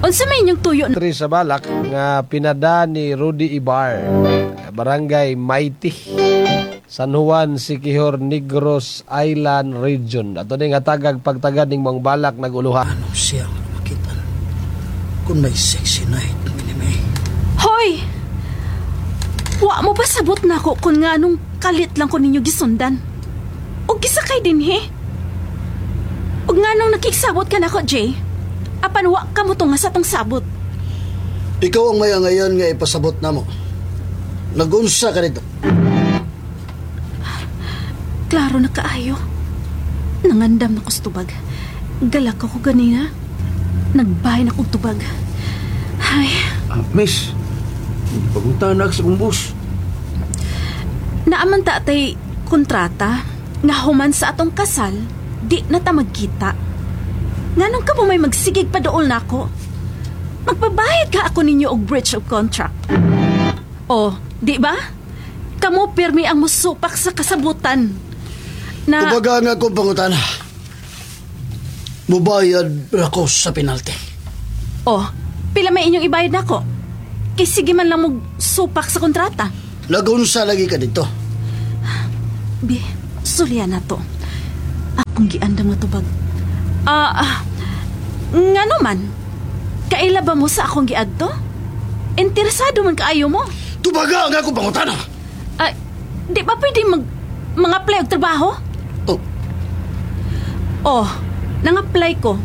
Unsa may inyong tuyo? Tri sa balak nga pinada ni Rudy Ibar, Barangay Mighty, San Juan, Siquijor, Negros Island Region. Ato ning hatagag pagtagad ning mga balak naguluhan. Ano siya ang makita? Kung may sexy night, minimay. Hoy! Wa mo ba sabot na ako kung nga nung kalit lang ko ninyo gisundan? O gisakay din he? O nga nung nakiksabot ka na ko, Jay? Apan wa ka mo tunga sa tong sabot. Ikaw ang maya ngayon nga ipasabot na mo. Nagunsa ka nito. Klaro na kaayo. Nangandam na ko sa tubag. Galak ako ganina. Nagbahay na kong tubag. Ay, Miss, pagunta na sa akong bus. Naaman ta tay kontrata nga human sa atong kasal, di na ta magkita. Nganong ka mo may magsigig pa dool nako? Magbabayad ka ako ninyo og breach of contract. O, di ba? Kamo pirmi ang musupak sa kasabutan. Na, Tubaga nga akong pangutana. Mubayad ra ko sa penalty. O, pila may inyong ibayad nako? Kay sige man lang mo supak sa kontrata. Nagunsa lagi ka dito. Bi, sulya na to. Akong giandam nga tubag. Ngano man? Kaila ba mo sa akong giadto? Interesado man kaayo mo. Tubaga nga akong pangutana. Ay, di ba pwede mga apply og trabaho? Oh, Oh, nang-apply ko.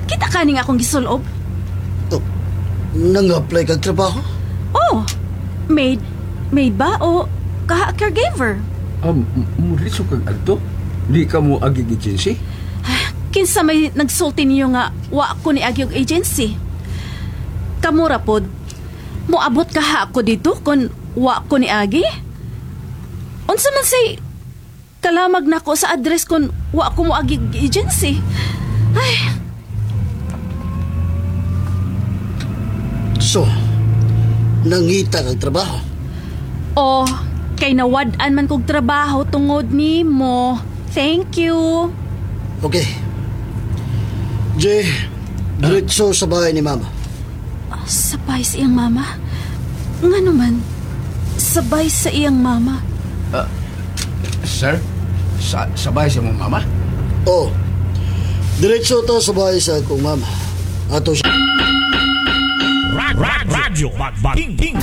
Kita ka ning akong gisulob? Oh, nang-apply kag trabaho? Oh, maid, maid ba o kaha caregiver? Muliso kag adto? Di ka mo agi agency? Kinsa may nagsulti niyo nga wa ko ni agi og agency? Kamura pod. Moabot ka ha ako dito kung wa ko ni agi? Unsa man say kalamag nako sa address kung wa ko mo agi og agency? Ay, So, nangita kag trabaho? Oh, kay nawad-an man kog trabaho tungod nimo. Thank you. Okay. Jay, diretso sa bahay ni Mama. Sabay sa iyang mama? Nga naman, sabay sa iyang mama. Sir, sabay sa mong mama? Oh, diretso ta sa bahay sa akong mama. Ato siya. Radyo Magbaging.